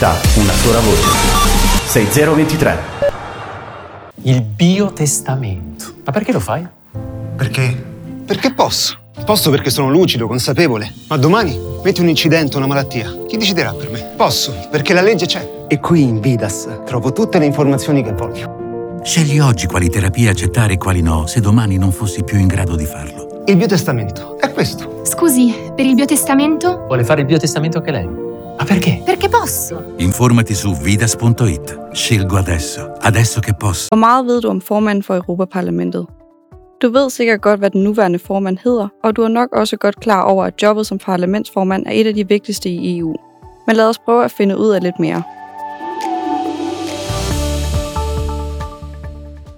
Una sola voce. 6023. Il biotestamento. Ma perché lo fai? Perché? Perché posso. Posso perché sono lucido, consapevole. Ma domani metti un incidente, una malattia. Chi deciderà per me? Posso, perché la legge c'è. E qui in Vidas trovo tutte le informazioni che voglio. Scegli oggi quali terapie accettare e quali no, se domani non fossi più in grado di farlo. Il biotestamento è questo. Scusi, per il biotestamento? Vuole fare il biotestamento anche lei? Ma perché? Perché posso. Informati su vidas.it. Scelgo adesso. Adesso che posso. Hvor meget ved du om formanden for Europaparlamentet? Du ved sikkert godt, hvad den nuværende formand hedder, og du er nok også godt klar over, at jobbet som parlamentsformand er et af de vigtigste i EU. Men lad os prøve at finde ud af lidt mere.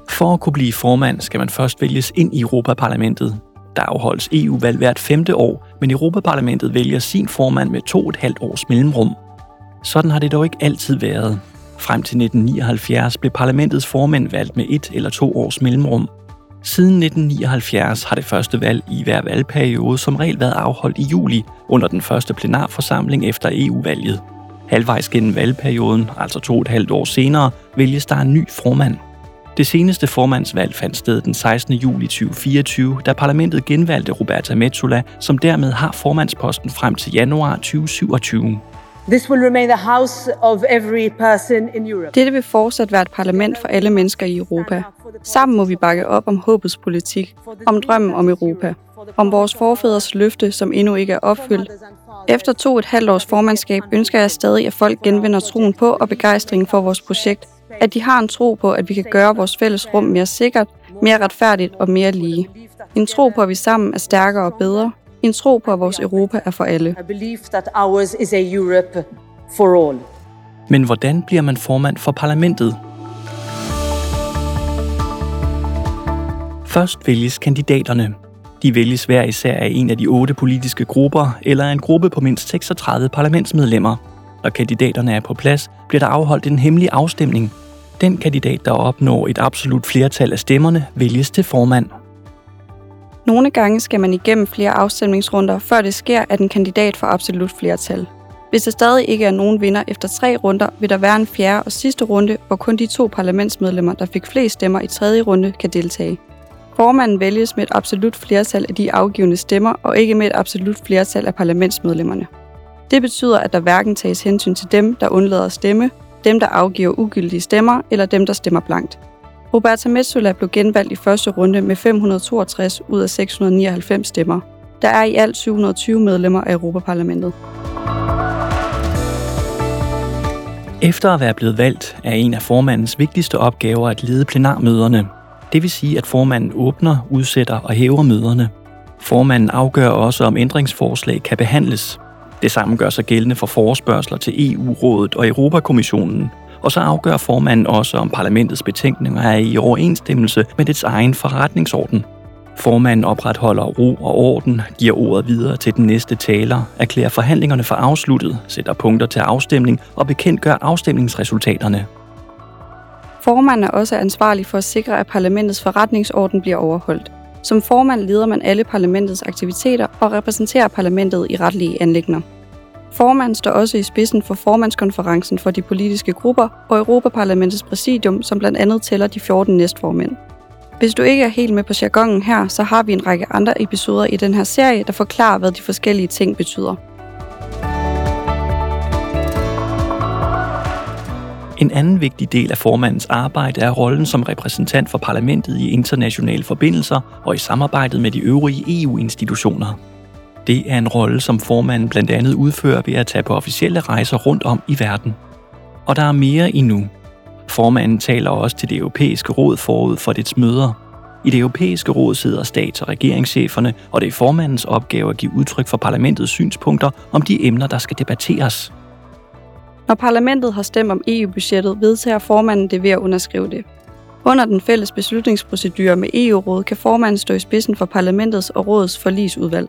For at kunne blive formand, skal man først vælges ind i Europaparlamentet. Der afholdes EU-valg hvert femte år, men Europaparlamentet vælger sin formand med 2,5 års mellemrum. Sådan har det dog ikke altid været. Frem til 1979 blev parlamentets formænd valgt med 1 eller 2 års mellemrum. Siden 1979 har det første valg i hver valgperiode som regel været afholdt i juli under den første plenarforsamling efter EU-valget. Halvvejs gennem valgperioden, altså 2,5 år senere, vælges der en ny formand. Det seneste formandsvalg fandt sted den 16. juli 2024, da parlamentet genvalgte Roberta Metsola, som dermed har formandsposten frem til januar 2027. This will remain the house of every person in Europe. Dette vil fortsat være et parlament for alle mennesker i Europa. Sammen må vi bakke op om håbets politik, om drømmen om Europa, om vores forfædres løfte, som endnu ikke er opfyldt. Efter 2,5 års formandskab ønsker jeg stadig, at folk genvinder troen på og begejstringen for vores projekt, at de har en tro på, at vi kan gøre vores fælles rum mere sikkert, mere retfærdigt og mere lige. En tro på, at vi sammen er stærkere og bedre. En tro på, at vores Europa er for alle. A belief that ours is a Europe for all. Men hvordan bliver man formand for parlamentet? Først vælges kandidaterne. De vælges hver især af en af de 8 politiske grupper eller af en gruppe på mindst 36 parlamentsmedlemmer. Når kandidaterne er på plads, bliver der afholdt en hemmelig afstemning. Den kandidat, der opnår et absolut flertal af stemmerne, vælges til formand. Nogle gange skal man igennem flere afstemningsrunder, før det sker, at en kandidat får absolut flertal. Hvis der stadig ikke er nogen vinder efter 3 runder, vil der være en fjerde og sidste runde, hvor kun de 2 parlamentsmedlemmer, der fik flest stemmer i tredje runde, kan deltage. Formanden vælges med et absolut flertal af de afgivne stemmer, og ikke med et absolut flertal af parlamentsmedlemmerne. Det betyder, at der hverken tages hensyn til dem, der undlader at stemme, dem, der afgiver ugyldige stemmer, eller dem, der stemmer blankt. Roberta Metsola blev genvalgt i første runde med 562 ud af 699 stemmer. Der er i alt 720 medlemmer af Europaparlamentet. Efter at være blevet valgt, er en af formandens vigtigste opgaver at lede plenarmøderne. Det vil sige, at formanden åbner, udsætter og hæver møderne. Formanden afgør også, om ændringsforslag kan behandles. Det samme gør sig gældende for forespørgsler til EU-rådet og Europakommissionen. Og så afgør formanden også, om parlamentets betænkninger er i overensstemmelse med dets egen forretningsorden. Formanden opretholder ro og orden, giver ordet videre til den næste taler, erklærer forhandlingerne for afsluttet, sætter punkter til afstemning og bekendtgør afstemningsresultaterne. Formanden er også ansvarlig for at sikre, at parlamentets forretningsorden bliver overholdt. Som formand leder man alle parlamentets aktiviteter og repræsenterer parlamentet i retlige anliggender. Formanden står også i spidsen for formandskonferencen for de politiske grupper og Europaparlamentets præsidium, som blandt andet tæller de 14 næstformænd. Hvis du ikke er helt med på jargonen her, så har vi en række andre episoder i den her serie, der forklarer, hvad de forskellige ting betyder. En anden vigtig del af formandens arbejde er rollen som repræsentant for parlamentet i internationale forbindelser og i samarbejdet med de øvrige E U-institutioner. Det er en rolle, som formanden blandt andet udfører ved at tage på officielle rejser rundt om i verden. Og der er mere endnu. Formanden taler også til det europæiske råd forud for dets møder. I det europæiske råd sidder stats- og regeringscheferne, og det er formandens opgave at give udtryk for parlamentets synspunkter om de emner, der skal debatteres. Når parlamentet har stemt om E U-budgettet, vedtager formanden det ved at underskrive det. Under den fælles beslutningsprocedure med E U-rådet kan formanden stå i spidsen for parlamentets og rådets forligsudvalg.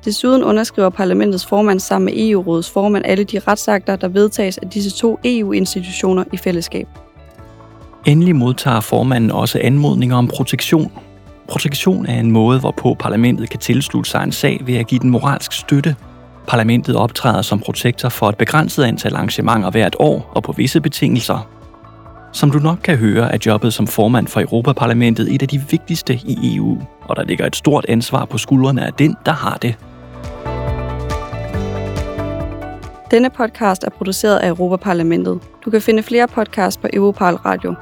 Desuden underskriver parlamentets formand sammen med E U-rådets formand alle de retsakter, der vedtages af disse to E U-institutioner i fællesskab. Endelig modtager formanden også anmodninger om protektion. Protektion er en måde, hvorpå parlamentet kan tilslutte sig en sag ved at give den moralsk støtte. Parlamentet optræder som protektor for et begrænset antal arrangementer hvert år og på visse betingelser. Som du nok kan høre, er jobbet som formand for Europaparlamentet et af de vigtigste i EU, og der ligger et stort ansvar på skuldrene af den, der har det. Denne podcast er produceret af Europaparlamentet. Du kan finde flere podcasts på Europal Radio.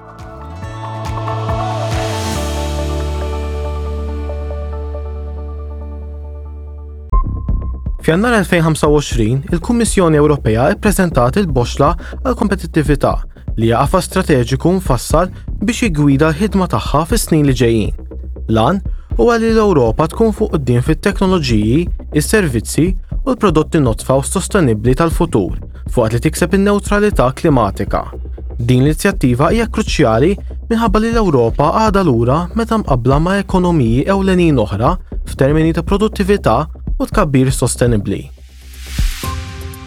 F'Jannar 2025, il-Kummissjoni Ewropea ppreżentat il-Boxxla għall-Kompetittività, li hija qafas strateġiku mfassal biex jiggwida l-ħidma tagħha fis-snin li ġejjin. L-għan huwa li l-Ewropa tkun fuq quddiem fit-teknoloġiji, is-servizzi u l-prodotti nodfa u sostenibbli tal-futur fuqat li tikseb in-newtralità klimatika. Din l-inizjattiva hija kruċjali minħabba li l-Ewropa għadha lura meta mqabbla ma' ekonomiji ewlenin oħra f'termini ta' produttività u tkabbir sostenibbli.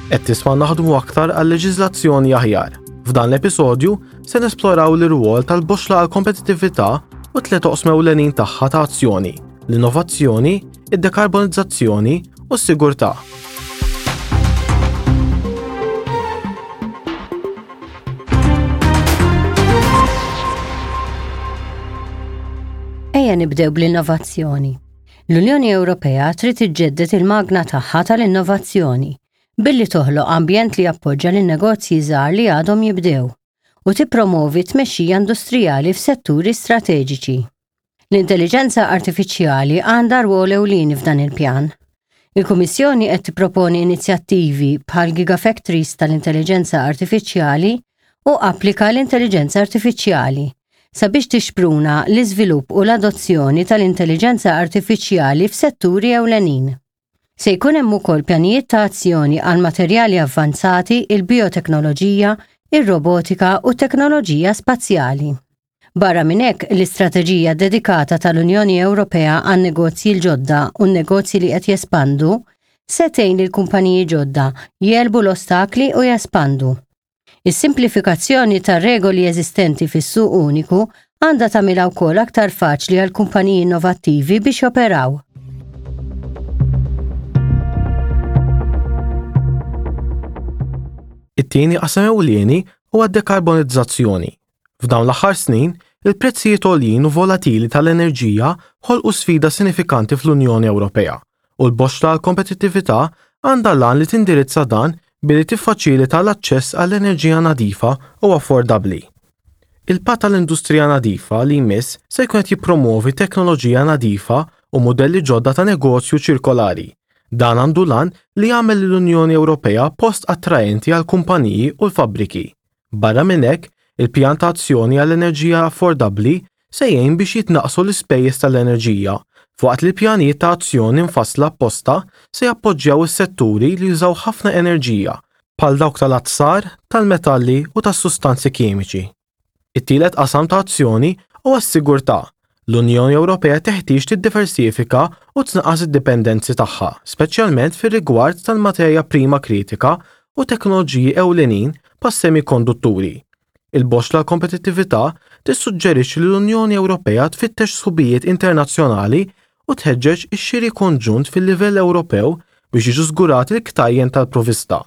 Qed tisma' naħdmu aktar għal leġiżlazzjoni aħjar. F'dan l-episodju se nesploraw l-irwol tal-boxla għal kompetittività u tliet oqsma ewlenin tagħha ta' azzjoni, l-innovazzjoni, id-dekarbonizzazzjoni u s-sigurtà. Ejja nibdew bl-innovazzjoni. L-Unjoni Ewropea trid iġġedded il-magna tagħha tal-innovazzjoni billi toħloq ambjent li jappoġġa lin-negozji żgħar li għadhom jibdew u tippromovi t-tmexxija industrijali f'setturi strateġiċi. L-intelliġenza artifiċjali għandha rwol ewlieni f'dan il-pjan. Il-Kummissjoni qed tipproponi inizjattivi bħal Gigafactories tal-Intelliġenza Artifiċjali u Applika l-Intelliġenza Artifiċjali sabiex tixpruna l-iżvilupp u l-adozzjoni tal-intelliġenza artifiċjali f'setturi ewlenin. Se jkun hemm ukoll pjanijiet ta' azzjoni għal materjali avvanzati, il-bijoteknoloġija, ir-robotika u t-teknoloġija spazjali. Barra minn hekk, l-istrateġija ddedikata tal-Unjoni Ewropea għan-negozji l-ġodda u n-negozji li qed jespandu se tgħin lill-kumpaniji ġodda jegħlbu l-ostakli u jespandu. Is-simplifikazzjoni tar-regoli eżistenti fis-suq uniku għandha tagħmilha wkoll aktar faċli għall-kumpaniji innovattivi biex joperaw. It-tieni qasam ewlieni huwa d-dekarbonizzazzjoni. F'dawn l-aħħar snin, il-prezzijiet għoljin u volatili tal-enerġija ħolqu sfida sinifikanti fl-Unjoni Ewropea, u l-boxxla għall-kompetittività għandha l-għan li tindirizza dan billi tiffaċilita l-aċċess għall-enerġija nadifa u affordabbli. Il-Patt għall-Industrija Nadifa li jmiss se jkun qed jippromwovi teknoloġija nadifa u mudelli ġodda ta' negozju ċirkolari. Dan għandu l-għan li jagħmel lill-Unjoni Ewropea post attraenti għall-kumpaniji u l-fabbriki. Barra minn hekk, il-Pjan ta' Azzjoni għall-Enerġija Affordabbli se jgħin biex jitnaqqsu l-ispejjeż tal-enerġija, filwaqt li l-pjanijiet ta' azzjoni mfassla apposta se jappoġġjaw is-setturi li jużaw ħafna enerġija, bħal dawk tal-azzar, tal-metalli u tas-sustanzi kimiċi. It-tielet qasam ta' azzjoni huwa s-sigurtà. L-Unjoni Ewropea teħtieġ tiddiversifika u tnaqqas id-dipendenzi tagħha, speċjalment fir-rigward tal-materja prima kritika u teknoloġiji ewlenin bħas-semikondutturi. Il-boxxla għall-kompetittività tissuġġerixxi li l-Unjoni Ewropea tfittex sħubijiet internazzjonali u tħeġġeġ ix-xiri konġunt fil-livell Ewropew biex jiġu żgurati l-ktajjen tal-provvista.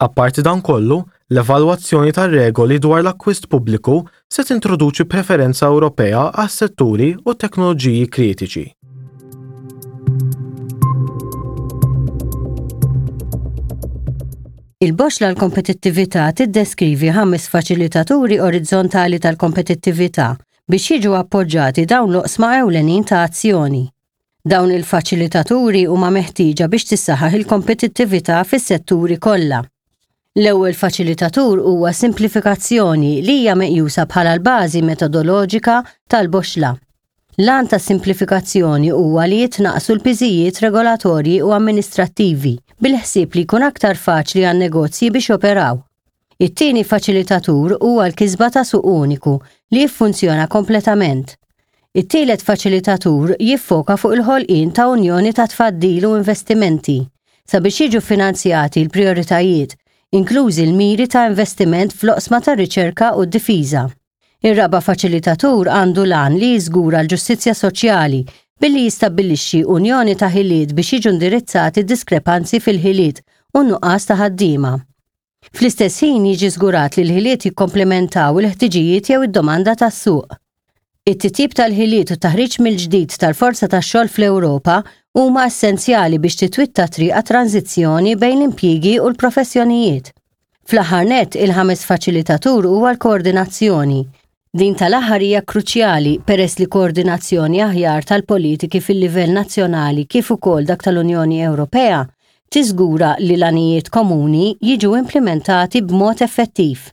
Apparti dan kollu, l-evalwazzjoni tar-regoli dwar l-akkwist pubbliku se tintroduċi preferenza Ewropea għas-setturi u t-teknoloġiji kritiċi. Il-boxxla għall-kompetittività tiddeskrivi ħames faċilitaturi orizzontali tal-kompetittività biex jiġu appoġġati dawn l-oqsma ewlenin ta' azzjoni. Dawn il-faċilitaturi huma meħtieġa biex tissaħħaħ il-kompetittività fis-setturi kollha. L-ewwel faċilitatur huwa simplifikazzjoni li hija meqjusa bħala l-bażi metodoloġika tal-boxxla. L-għan tas-simplifikazzjoni huwa li jitnaqqsu l-piżijiet regolatorji u amministrattivi bil-ħsieb li jkun aktar faċli għan-negozji biex joperaw. It-tieni faċilitatur huwa l-kisba ta' suq uniku li jiffunzjona kompletament. It-tielet faċilitatur jiffoka fuq il-ħolqien ta' unjoni ta' tfaddil u investimenti sabiex jiġu ffinanzjati l-prijoritajiet, inklużi l-miri ta' investiment fl-oqsma tar-riċerka u d-difiża. Ir-raba' faċilitatur għandu l-għan li jiżgura l-ġustizzja soċjali billi jistabbilixxi unjoni ta' ħiliet biex jiġu indirizzati d-diskrepanzi fil-ħiliet. u n-nuqqas ta' ħaddiema. Fl-istess ħin jiġi żgurat li l-ħiliet jikkomplementaw il-ħtiġijiet jew id-domanda tas-suq. It-titjib tal-ħiliet u t-taħriġ mill-ġdid tal-forza tax-xogħol fl-Ewropa huma essenzjali biex titwitta t-triq għat-tranżizzjoni bejn l-impjiegi u l-professjonijiet. Fl-aħħar nett, il-ħames faċilitatur huwa l-koordinazzjoni. Din tal-aħħar hija kruċjali peress li koordinazzjoni aħjar tal-politiki fil-livell nazzjonali kif ukoll dak tal-Unjoni Ewropea tiżgura li l-għanijiet komuni jiġu implimentati b'mod effettiv.